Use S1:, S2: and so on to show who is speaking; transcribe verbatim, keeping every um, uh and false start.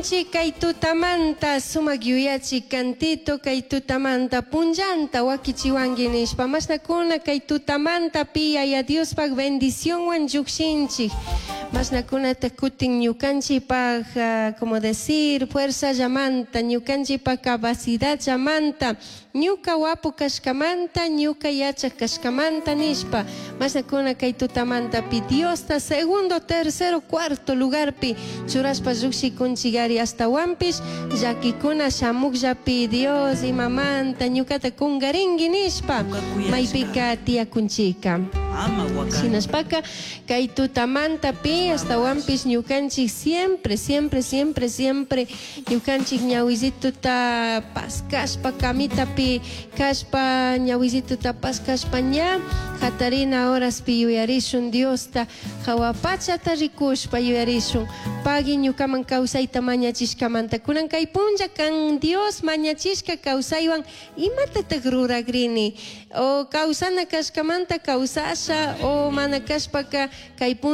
S1: Llukshinchik kay tutamanta sumak yuyachi cantito kay tutamanta punllanta wakichiwanki nishpa mashnakuna kay tutamanta pi Yaya Diospaj bendicionwan llukshinchik mashnakunata kutin ñukanchikpaj ah, como decir fuerza llamanta ñukanchikpaj capacidad llamanta ñuka wapu kashkamanta ñuka yachak kashkamanta nishpa mashnakuna kay tutamanta pi Diosta segundo tercero cuarto lugarpi churashpa llukshikunchikari ashtawanpish llakikuna shamukllapi Dios imamanta ñukata kungarinki nishpa maypika tiyakunchika
S2: Ama wakani.
S1: Shinashpaka kay tutamanta pi ashtawanpish ñukanchik siempre siempre siempre siempre ñukanchik ñawisituta paskashpa camitapi kashpa ñawisituta paskashpa ña hatarina horaspi yuyarishun Diosta hawa pachata rikushpa yuyarishun pagui ñukaman kawsayta mañachishkamanta kunan kay punlla kan Dios mañachishka kawsaywan imatatak rurakrini o kawsana kashkamanta kawsasha o mana kashpaka kay punlla